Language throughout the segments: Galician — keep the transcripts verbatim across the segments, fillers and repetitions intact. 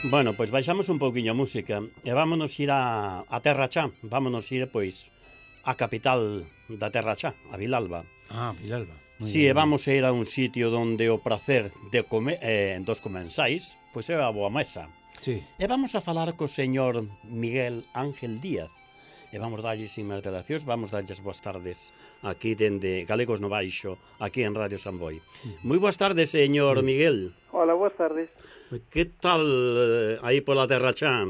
Bueno, pois baixamos un pouquiño a música e vámonos ir a, a Terra Chá. Vámonos ir, pois, a capital da Terra Chá, a Vilalba. Ah, Vilalba. Si, sí, e vamos a ir a un sitio onde o prazer de comer, eh, dos comensais, pois é a boa mesa. Sí. E vamos a falar co señor Miguel Ángel Díaz. E vamos darlle sin máis dilacións, vamos darlles boas tardes aquí dende Galegos no Baixo, aquí en Radio Samboy. Moi boas tardes, señor Miguel. Hola, boas tardes. Que tal eh, aí pola Terra Chá?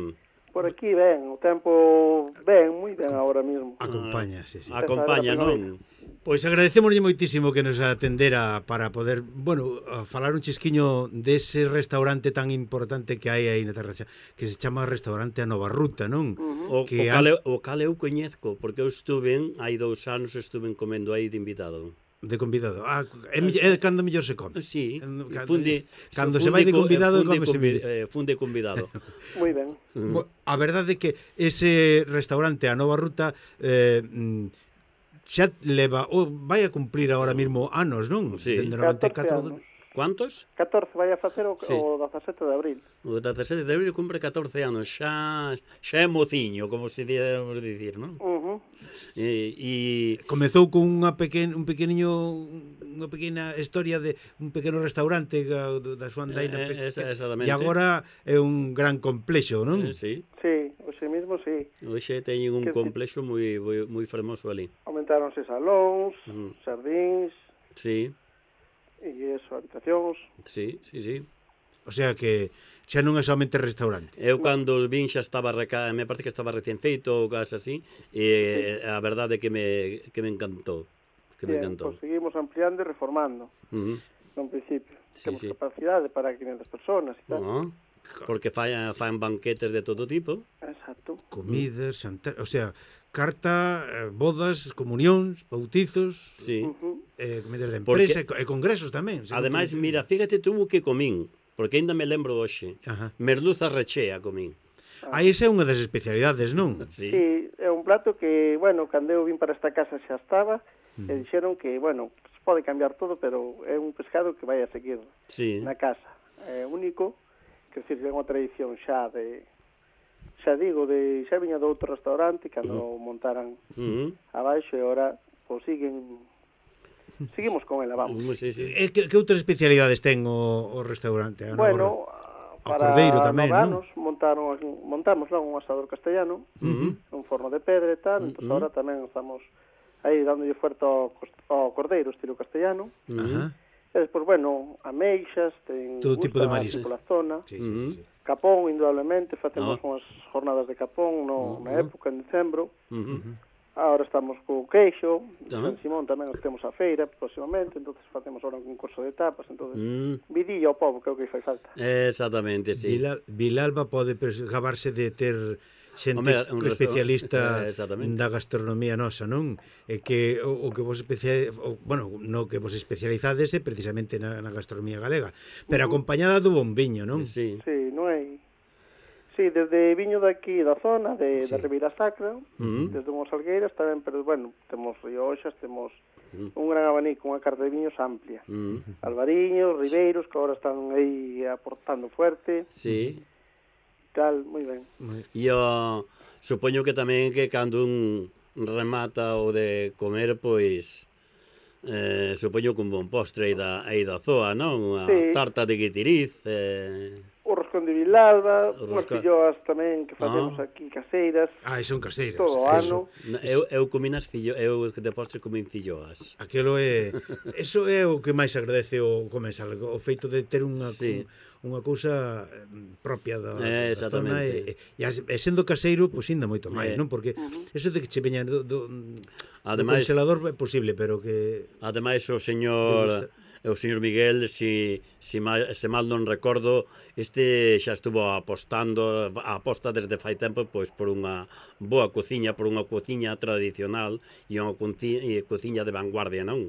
Por aquí ben, o tempo ben, moi ben agora mesmo. Acompaña, sí, sí. Acompaña, non? Pois agradecémoslle moitísimo que nos atendera para poder, bueno, falar un chisquiño dese restaurante tan importante que hai aí na Terra Chá, que se chama Restaurante A Nova Ruta, non? Uh -huh. O, que o, cal, eu, o cal eu coñezco, porque eu estuve, hai dous anos, estuve comendo aí de invitado. De convidado. Ah, é, é cando mellor se come. Sí, cando, funde, cando funde, se vai de convidado, funde, come se convi, eh, funde convidado. Moi ben. Uh -huh. A verdade é que ese restaurante A Nova Ruta eh, xa leva, oh, vai a cumplir agora mesmo anos, non? Sí. Dende noventa e catro. Cuántos? catorce vai a facer o, sí. o dezasete de abril. O dezasete de abril cumpre catorce anos, xa xa é mociño, como se debemos dicir, non? Uh -huh. E, e comezou con unha pequen, un pequeniño unha pequena historia de un pequeno restaurante da súa andaina eh, pequena, exactamente. E agora é un gran complexo, non? Eh, sí. Sí, hoxe mesmo sí. Hoxe teñen un que complexo moi moi, moi fermoso ali. Aumentáronse salóns, uh -huh. xardíns. Sí. E eso, habitacións. Sí, sí, sí. O sea que xa non é somente restaurante. Eu cando vin xa estaba reca... me parece que estaba recén feito ou casi así, e sí. A verdade é que me, que me encantou. Que Bien, me encantou. Pues seguimos ampliando e reformando. Uh -huh. No principio. Sí, Temos sí. capacidade para quinhentas personas e tal. Uh -huh. Porque fan, fan banquetes de todo tipo. Exacto. Comidas, xantar, o sea, carta, bodas, comunións, bautizos, sí. uh -huh. eh, comidas de empresa porque... e congresos tamén. Ademais, mira, fíjate tú que comín, porque ainda me lembro hoxe. Ajá. Merluza rechea comín. Ah, esa é unha das especialidades, non? Sí. Sí, é un plato que, bueno, cando eu vim para esta casa xa estaba, uh -huh. e dixeron que, bueno, se pode cambiar todo, pero é un pescado que vai a seguir sí. na casa. É único, que decir, é unha tradición xa de... xa digo, de xa viña de outro restaurante cando uh -huh. montaran uh -huh. abaixo e agora pois siguen seguimos con ela, vamos. Sí, sí. E que, que outras especialidades ten o, o restaurante? Bueno, para Cordeiro tamén, nove anos montaron, montamos lá un asador castellano, uh -huh. un forno de pedra e tal, uh -huh. entón agora tamén estamos aí dándolle fuerte ao, ao cordeiro estilo castellano. Uh -huh. E despois, bueno, ameixas, ten todo tipo de marisco pola zona. Sí, sí, sí, sí. Capón, indudablemente, facemos no. unhas jornadas de capón no, uh -huh. na época, en decembro. Uh -huh. Agora estamos co queixo, uh -huh. San Simón tamén os temos a feira próximamente, entonces facemos ahora un concurso de tapas, entonces uh -huh. vidilla ao povo, que é o que fai falta. Exactamente, sí. Vilal, Vilalba pode gabarse de ter xente Hombre, especialista eh, da gastronomía nosa, non? E que o, o que vos especial, o, bueno, no que vos especializades é precisamente na, na gastronomía galega, pero uh -huh. acompañada do bon viño, non? Sí. Sí, non hai. Sí, desde viño daqui da zona de, sí. da Ribeira Sacra, uh -huh. desde unhas algueiras tamén, pero bueno, temos rioxas, temos uh -huh. un gran abanico, unha carta de viños amplia. Uh -huh. Albariños, ribeiros, que agora están aí aportando fuerte. Sí. Tal, moi ben. E eu supoño que tamén que cando un remata o de comer, pois eh, supoño que un bon postre aí da, aí da zoa, non? Unha sí. tarta de guitiriz, eh... o roscón de Vilalba, unhas Rosca... filloas tamén que facemos ah. aquí caseiras. Ah, son caseiras. Todo o ano. Eu, eu comín as fillo... eu de postre comín filloas. Aquilo é... Eso é o que máis agradece o comensal, o feito de ter unha... Sí. unha cousa propia da, eh, da zona e, e, e sendo caseiro, pois ainda moito máis, eh. non? Porque uh -huh. eso de que che veña do, do, ademais, do congelador é posible, pero que... Ademais, o señor... o señor Miguel, si, si mal, se mal non recordo, este xa estuvo apostando, aposta desde fai tempo, pois por unha boa cociña, por unha cociña tradicional e unha cociña de vanguardia, non?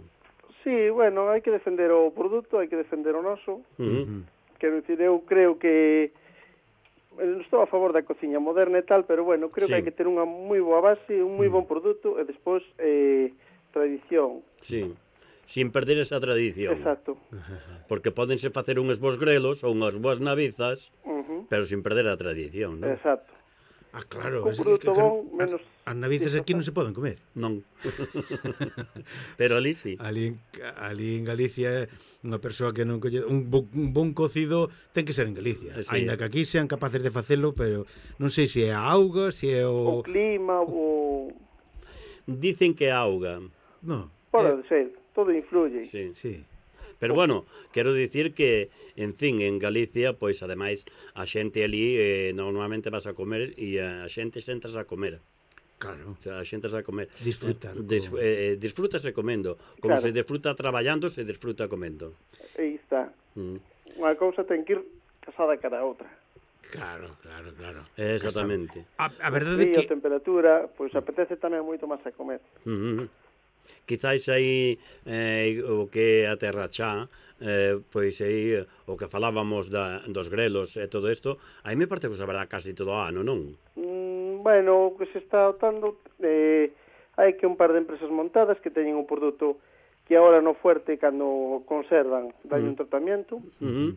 Sí, bueno, hai que defender o produto, hai que defender o noso. Uh -huh. Quero dicir, eu creo que estou a favor da cociña moderna e tal, pero bueno, creo sí. que hai que ter unha moi boa base, un moi bon produto e despois eh, tradición. Sí, sin perder esa tradición. Exacto. Porque pódense facer unhos bons grelos ou unhas boas navizas, uh -huh. Pero sin perder a tradición, non? Exacto. Ah, claro. Un produto bon, menos... As navizas aquí non se poden comer. Non. Pero ali sí. Ali, ali en Galicia, unha persoa que non colle... Un, bo, un bon cocido ten que ser en Galicia. Sí. Ainda que aquí sean capaces de facelo, pero non sei se é a auga, se é o... O clima, o... Dicen que é a auga. No. Pode eh... ser, todo influye. Sí. Sí. Pero bueno, quero dicir que, en fin, en Galicia, pois, ademais, a xente ali eh, normalmente vas a comer e a xente sentas a comer. Claro. O sea, a xente a comer. Disfrutar. Dis, eh, disfrútase comendo. Como claro. se disfruta traballando, se disfruta comendo. Aí está. Mm. Unha cousa ten que ir casada cara a outra. Claro, claro, claro. Exactamente. A, a verdade é que... que... a temperatura, pois apetece tamén moito máis a comer. Mm -hmm. Quizáis aí eh, o que é a terra chá, eh, pois aí o que falábamos da, dos grelos e todo isto, aí me parte que se saberá casi todo o ano, non? Mm, bueno, o que se está notando, eh, hai que un par de empresas montadas que teñen un produto que agora no fuerte, cando conservan, dan mm. un tratamento, mm -hmm.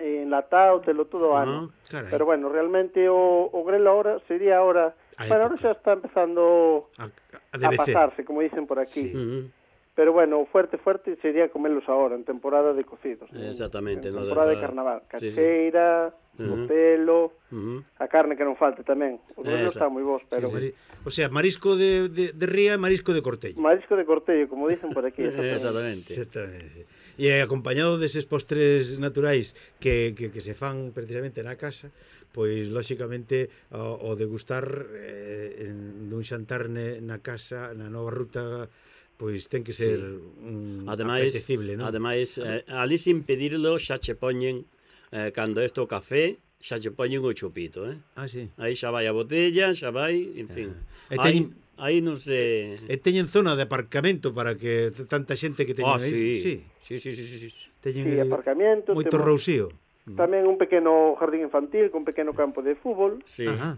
eh, enlatado, telo todo o ano. Ah, pero bueno, realmente o, o grelo ahora sería ahora... Bueno, ahora xa está empezando a, a, a pasarse, como dicen por aquí. Sí. Pero bueno, o fuerte, fuerte sería comerlos ahora, en temporada de cocidos. Exactamente. En temporada de, de carnaval. Cacheira, sí, sí. O pelo, uh -huh. a carne que non falte tamén. Os grelos están moi bons, pero... Sí, sí. O sea, marisco de, de, de ría, marisco de cortello. Marisco de cortello, como dicen por aquí. Exactamente. Exactamente. E acompañado deses postres naturais que, que, que se fan precisamente na casa, pois, lóxicamente, o, o degustar eh, en, dun xantar ne, na casa, na nova ruta, pois ten que ser sí. un ademais, apetecible, non? Ademais, eh, ali sin pedirlo xa che poñen, eh, cando isto o café, xa che poñen o chupito, eh? Ah, sí. Aí xa vai a botella, xa vai, en fin. Ah. Teñen... Aí non se... E teñen zona de aparcamento para que tanta xente que teñen oh, aí. Sí, sí, sí, sí, sí, sí. Teñen sí, aparcamento. Moito rousío. Tamén un pequeno jardín infantil con un pequeno campo de fútbol. Sí. Ajá.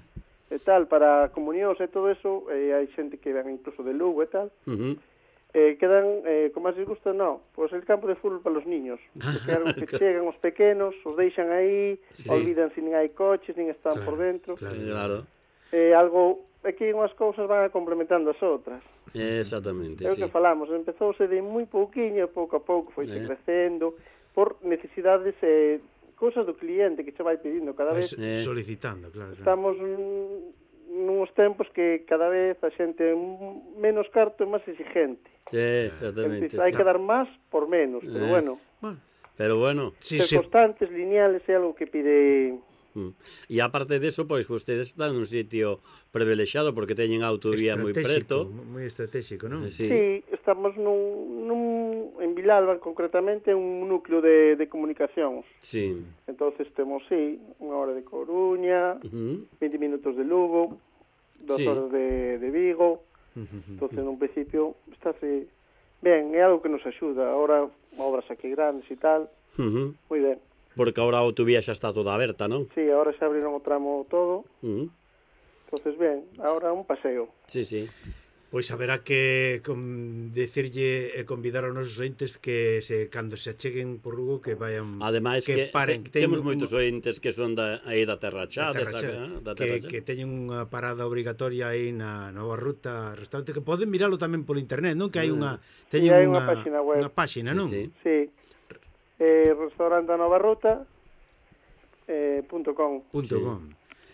E tal, para comunións e todo eso, eh, hai xente que ven incluso de Lugo e tal. Uh -huh. Eh, quedan, eh, como máis les gusta, no, pois pues el campo de fútbol para os niños. Quedan que chegan os pequenos, os deixan aí, sí. Olvidan se nin hai coches, nin están claro, por dentro. Claro, claro. Eh, algo... Aquí unhas cousas van complementando as outras. Exactamente, é o sí. que falamos, empezouse de moi pouquiño, pouco a pouco foi eh. crecendo, por necesidades e eh, cousas do cliente que se vai pedindo cada vez. Eh. Solicitando, claro, claro. Estamos nuns tempos que cada vez a xente menos carto é máis exigente. Eh, exactamente. Hai que dar máis por menos, pero eh. bueno. Pero bueno. Sí, ser sí. Constantes, lineales, é algo que pide... E aparte de eso, pois, pues, ustedes están nun sitio privilexiado porque teñen autovía moi preto. Moi estratégico, non? Sí, sí, estamos nun, nun, en Vilalba, concretamente, un núcleo de, de comunicacións. Sí. Entonces temos, sí, unha hora de Coruña, uh -huh. vinte minutos de Lugo, dos sí. horas de, de Vigo. Uh -huh. Entonces, nun principio, estáse ben, é algo que nos axuda. Ahora, obras aquí grandes e tal, uh -huh. moi ben. Porque agora a autovía xa está toda aberta, non? Sí, agora xa abriron o tramo todo. Uh -huh. Entonces, ben, agora un paseo. Sí, sí. Pois haberá que con, decirlle e convidar aos nosos ointes que se cando se acheguen por Lugo que vayan ademais que, que paren, te, que temos moitos ointes que son da aí da Terra Chá, da terra desa, chá, da que, terra que teñen unha parada obrigatoria aí na nova ruta restaurante que poden miralo tamén polo internet, non? Que hai unha teñen sí, hai unha, unha página web, unha página, non? Sí. sí. Eh, restaurante a Nova Ruta eh, punto com. Punto sí. com.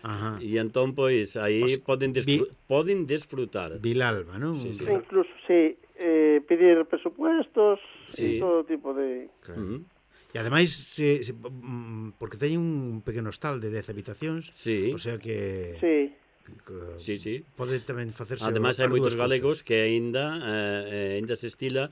Ajá. E entón, pois, aí o poden, disfr vi... poden disfrutar. Vilalba, non? Sí, sí. Incluso, sí, eh, pedir presupuestos sí. e todo tipo de... Claro. Uh -huh. E ademais, se, se, porque teñen un pequeno hostal de dez habitacións, sí. o sea que... Sí. Que, sí, sí. Pode tamén facerse... Ademais, hai moitos galegos que aínda eh, aínda se estila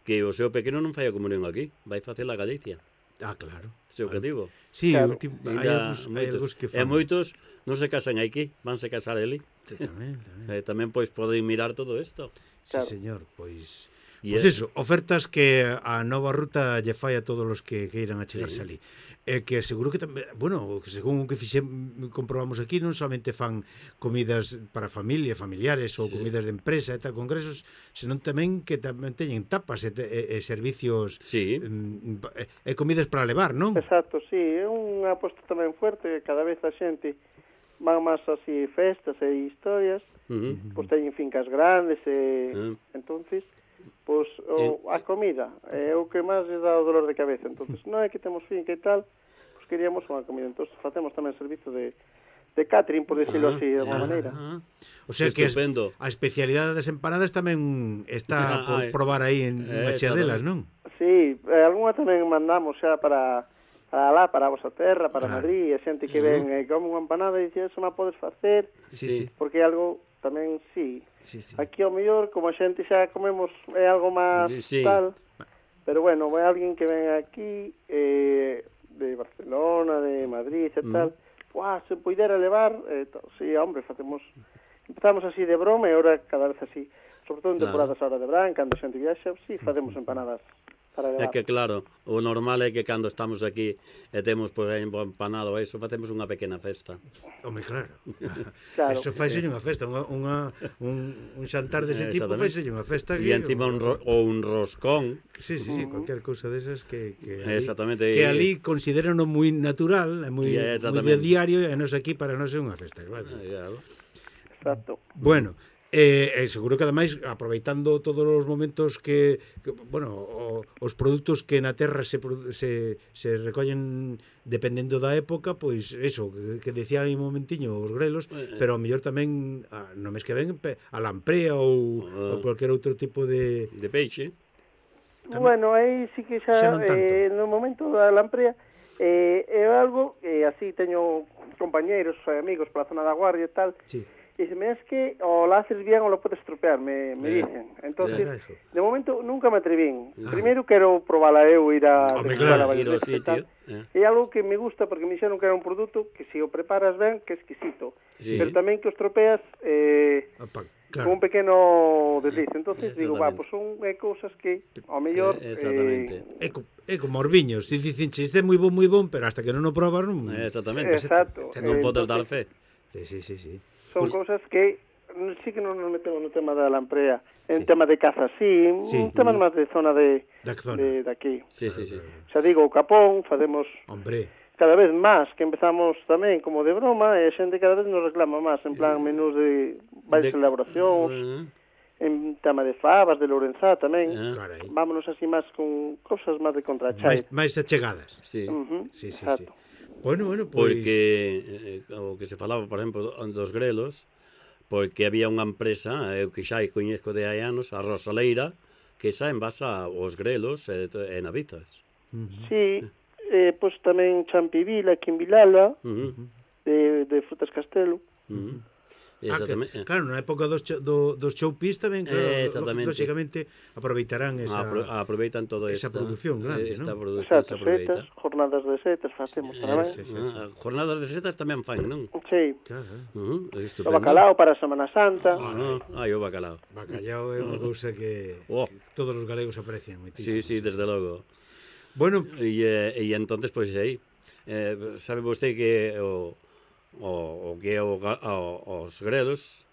que o seu pequeno non fai a comunión aquí, vai facer a Galicia. Ah, claro. Sei o que digo. Sí, claro. Último, hai, algúns, hai algúns que fan. E moitos non se casan aquí, vanse casar ali. Tamén, tamén. E tamén, pois, poden mirar todo isto. Sí, claro. Señor, pois... Pois pues eso, ofertas que a nova ruta lle fai a todos os que queiran achegarse sí. ali. E que seguro que tamén, bueno, según o que fixen, comprobamos aquí, non somente fan comidas para familia, familiares ou sí. comidas de empresa e tal, congresos, senón tamén que tamén teñen tapas e, e, e servicios sí. e, e comidas para levar, non? Exacto, sí, é unha aposta tamén fuerte, cada vez a xente van máis así festas e historias, uh -huh. pois teñen fincas grandes e uh -huh. entonces pois o, a comida é o que máis lles dá o dolor de cabeza. Entonces, non é que temos finca e tal, pois queríamos unha comida. Entonces, facemos tamén servizo de, de catering, por decirlo así, de alguma maneira. O sea que Estupendo. a especialidade das empanadas tamén está por probar aí en eh, Machiadelas, non? Sí, eh, algunha tamén mandamos xa para, para lá, para a vosa terra, para claro. Madrid, e xente que ven e eh, come unha empanada e dice, eso non podes facer, sí, sí. porque é algo tamén sí. sí, sí. Aquí ao mellor, como a xente xa comemos é algo máis sí. tal, pero bueno, vai alguén que ven aquí eh, de Barcelona, de Madrid e tal, mm. Uah, se poidera levar, eh, sí, hombre, facemos empezamos así de broma e ahora cada vez así, sobre todo en temporadas claro. ahora de verán, cando a xente viaxa, sí, facemos empanadas. É que claro, o normal é que cando estamos aquí e temos por aí empanado ou iso, facemos unha pequena festa. Home, claro. claro. Eso faise unha festa, unha, unha, un, un xantar dese tipo faise unha festa. E encima un ro, ou un roscón. Sí, sí, sí, uh -huh. cualquier cousa desas que, que, ali, Exactamente. que ali consideran moi natural, moi, moi de diario, e nos aquí para non ser unha festa, claro. claro. Exacto. Bueno, Eh, eh, seguro que ademais aproveitando todos os momentos que, que bueno, o, os produtos que na terra se, se, se recollen dependendo da época, pois eso, que, que decía aí un momentiño os grelos, eh, pero ao mellor tamén a, no mes que ven a lamprea ou, uh, ou cualquier outro tipo de de peixe. Tamén, bueno, aí sí que xa, xa eh, no momento da lamprea eh, é algo que eh, así teño compañeiros e amigos pola zona da Guardia e tal. Sí. E se me es que o lo haces bien o lo puedes estropear, me, me dicen. Entonces, de momento nunca me atrevín. Ah. Primeiro quero probala eu, ir a... Hombre, claro, ir ao sitio. É algo que me gusta porque me dixeron que era un produto que se o preparas ben, que é exquisito. Sí. Pero tamén que o estropeas eh, Opa, claro. con un pequeno desliz. Entonces digo, va, pues son eh, cousas que ao mellor... Sí, exactamente. Eh, é, co, é como os viños. Si dicen, isto é moi bon, moi bon, pero hasta que non o probas non... Exactamente. Exacto. Non podes dar fe. Sí, sí, sí, sí. Son pues, cousas que sí que non nos metemos no tema da lamprea, en sí. tema de caza, sí, sí. un tema mm. máis de zona de, de, de aquí. Sí, sí, sí. Xa digo, o capón, facemos Hombre. cada vez máis, que empezamos tamén como de broma, e a xente cada vez nos reclama máis, en plan menús de varias de... elaboracións, uh -huh. en tema de fabas, de Lourenzá tamén, uh -huh. vámonos así máis con cousas máis de contrachai. Máis achegadas. Sí, uh -huh. sí, sí, exacto. sí. Bueno, bueno, pois... Porque, eh, o que se falaba, por exemplo, dos grelos, porque había unha empresa, eu que xa coñezco de hai anos, a Rosaleira, que xa envasa os grelos e, e navizas. Uh -huh. Sí, eh, pois tamén Champivila, aquí en Vilala, uh -huh. de, de Frutas Castelo. Uh -huh. Ah, que, claro, na época dos, do, dos showpiece tamén, claro, eh, lógicamente aproveitarán esa Apro, aproveitan todo esa esta, produción grande, esta ¿no? produción Exacto, setas, jornadas de setas facemos tamén. Sí, sí, sí, sí. Ah, jornadas de setas tamén fan, non? Sí. Claro. Uh -huh, o bacalao para a Semana Santa. Ah, ah, o bacalao. Bacalao é unha cousa que oh. todos os galegos aprecian moitísimo. Sí, sí, desde logo. Bueno, e e entonces pois pues, aí, eh, sabe vostede que o o, o que é o, o, os grelos,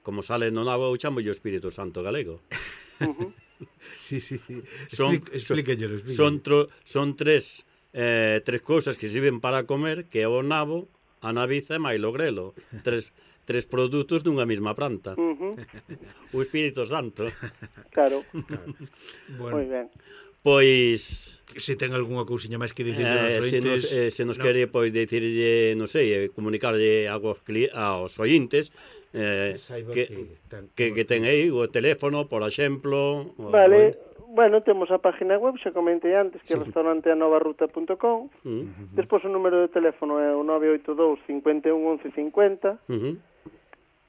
como sale no nabo, eu chamo o Espírito Santo galego. Uh -huh. Sí, sí, sí. Son, explíquenlo, explíquenlo. Son, tro, son tres, eh, tres cousas que sirven para comer, que é o nabo, a naviza e máis o grelo. Tres, tres produtos dunha mesma planta. Uh -huh. O Espírito Santo. Claro. Claro. Bueno. Moi ben. Pois... Se ten algunha cousiña máis que dicir eh, aos ointes... Se nos, eh, se nos no. quere, pois, dicirlle, non sei, comunicarlle aos, aos ointes eh, que, que, tan, que, que ten aí o teléfono, por exemplo... Vale, o... bueno, temos a página web, xa comentei antes, que é sí. restaurante a nova ruta punto com. Uh -huh. Despois o número de teléfono é o nove oito dous, cinco un, once cincuenta. Uh -huh.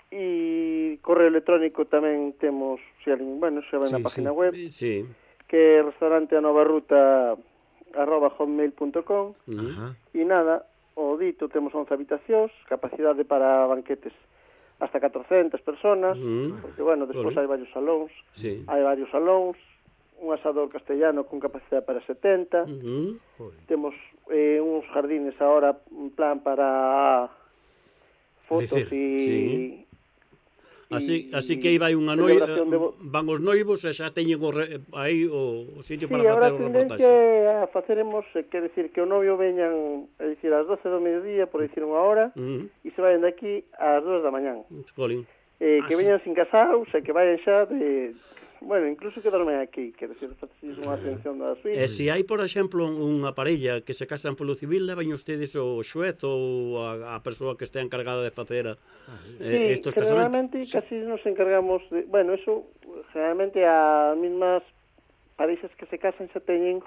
E correo electrónico tamén temos, se alguén, bueno, xa vai sí, na página sí. web. Sí. Que é restaurante a nova ruta arroba hotmail punto com. Uh -huh. E nada, o dito temos once habitacións, capacidade para banquetes hasta catrocentas personas, uh -huh. porque, bueno, despois uh -huh. hai varios salóns, sí. hai varios salóns, un asador castellano con capacidade para setenta, uh-huh. temos eh, uns jardines ahora en plan para fotos e... Sí. Así, así que aí vai unha noiva, de... van os noivos e xa teñen o re, aí o, o sitio sí, para facer o reportaxe. Sí, agora a faceremos, quer decir, que o novio veñan, é dicir, ás doce do mediodía, por dicir unha hora, uh-huh. e se vayan de aquí ás dúas da mañán. Jolín. Eh, que ah, veñan sí. sin casados, e que vayan xa de... Bueno, incluso que dormen aquí, quer decir, faces unha atención da suite. E se hai, por exemplo, unha parella que se casan polo civil, levan ustedes o xuez ou a, a persoa que estea encargada de facer ah, eh, sí, estos casamentos? Sí, generalmente casi nos encargamos de... Bueno, eso, generalmente as mismas parexas que se casan xa teñen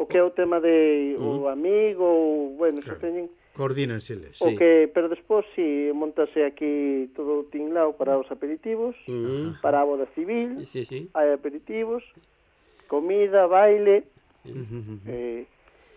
o que é o tema de uh-huh. o amigo, ou, bueno, claro. xa teñen... Coordínanseles. O sí. que, pero despois, si, montase aquí todo o tinglao para os aperitivos, uh-huh. para a boda civil, sí, sí. hai aperitivos, comida, baile, uh-huh. eh,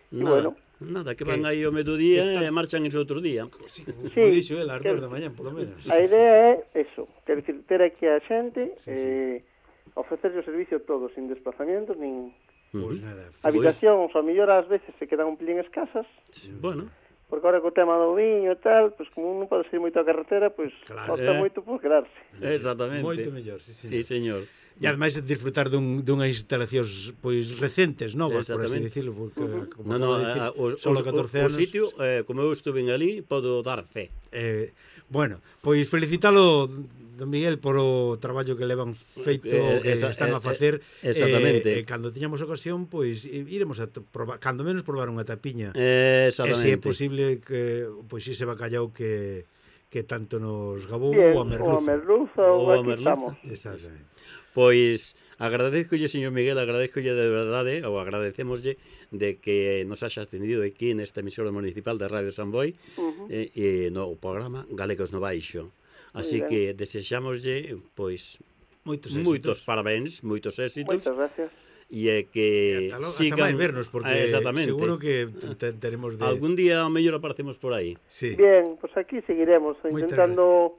e bueno... Nada, que van aí o mediodía e marchan ese outro día. Sí, sí, dixo el, as dúas da mañá, polo menos. A idea é eso, quer dicir, ter aquí a xente, sí, eh, sí. ofrecerle o servicio todo, sin desplazamientos, nin... Pues nada. Habitacións, a mellor ás veces se quedan un pelín escasas. Sí. Bueno... Porque ahora co tema do viño e tal, pois como non pode ser moito a carretera, pois claro, falta eh. moito por quedarse. Exactamente. Moito mellor, sí, señor. Sí, señor. E ademais disfrutar dun, dunhas instalacións pois recentes, novas, por así dicirlo, porque uh-huh. como no, no, dicir, a, o, solo catorce anos. O sitio, eh, como eu estuve ali, podo dar fe. Eh, bueno, pois felicitalo don Miguel por o traballo que levan feito, eh, que esa, están a facer. Eh, exactamente. E eh, eh, cando tiñamos ocasión, pois iremos a probar, cando menos probar unha tapiña. Eh, exactamente. E se é posible que pois ese bacallau que que tanto nos gabou bien, o a merluza. O a merluza, o, o a merluza. Exactamente. Pois agradezcolle, señor Miguel, agradezcolle de verdade, ou agradecemoslle de que nos haxa atendido aquí nesta emisora municipal de Radio San Boi, uh-huh. e, e no programa Galegos no Baixo. Así que desexámoslle, pois, moitos, moitos parabéns, moitos éxitos. Moitas gracias. E é que ata, sigan... Hasta máis vernos, porque ah, seguro que teremos de... Algún día ao mellor aparecemos por aí. Sí. Bien, pois pues aquí seguiremos intentando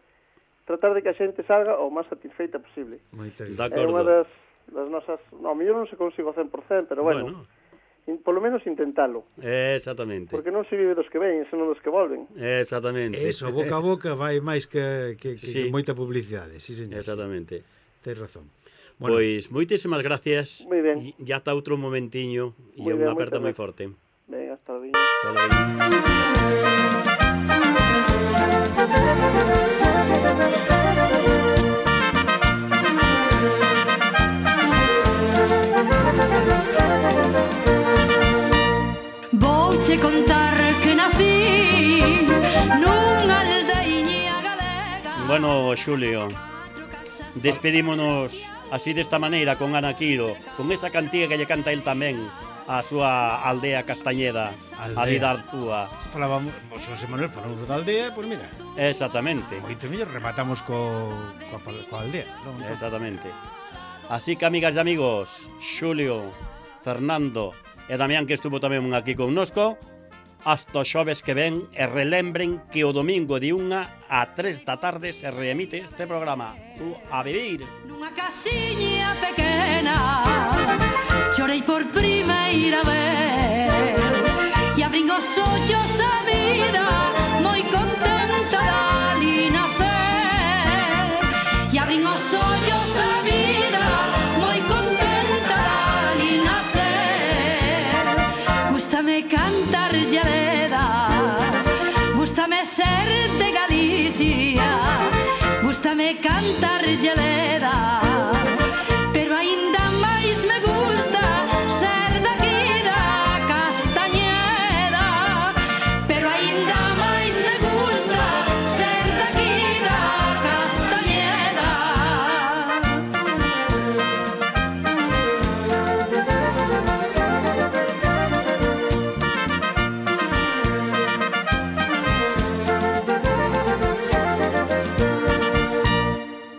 tratar de que a xente salga o máis satisfeita posible. Moitas gracias. É unha das, das nosas... No, ao mellor non se consigo cen por cento, pero bueno... bueno. In, polo menos intentalo. Exactamente. Porque non se vive dos que ven, senón dos que volven. Exactamente. Eso, boca a boca vai máis que, que, que, sí. que moita publicidade, sí, señor. Exactamente. Tens razón. Bueno. Pois moitísimas gracias. Moi ben. E ata outro momentiño e unha aperta moi forte. Ben, hasta logo. Hasta logo. Vouche contar que nací nunha aldeiña galega. Bueno, Xulio, despedímonos así desta maneira con Ana Quiro, con esa cantiga que lle canta el tamén a súa aldea Castañeda, aldea. A vida Artúa. Falábamos, José Manuel, falamos da aldea, pois pues mira. Exactamente. Moito mellor rematamos co, coa, coa aldea. Non? Exactamente. Así que, amigas e amigos, Xulio, Fernando e Damián, que estuvo tamén aquí connosco, hasta xoves que ven, e relembren que o domingo de unha a tres da tarde se reemite este programa. Tú a vivir. Nunha casiña pequena chorei por primeira vez e abrín os ollos a vida moi contenta de ali nacer e abrín os ollos a vida moi contenta de ali nacer. Gústame cantar llareda, gústame ser de Galicia, gústame cantar llareda, pero aínda máis me gusta ser daqui da Castañeda, pero aínda máis me gusta ser daqui da Castañeda.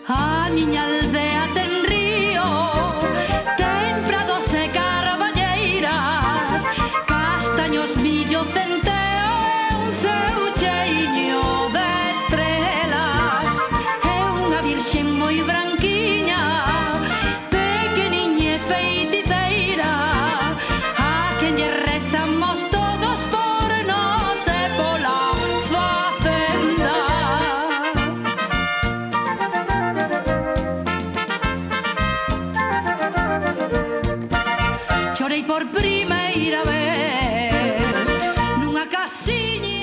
A miña aldea primeira vez nunha casiña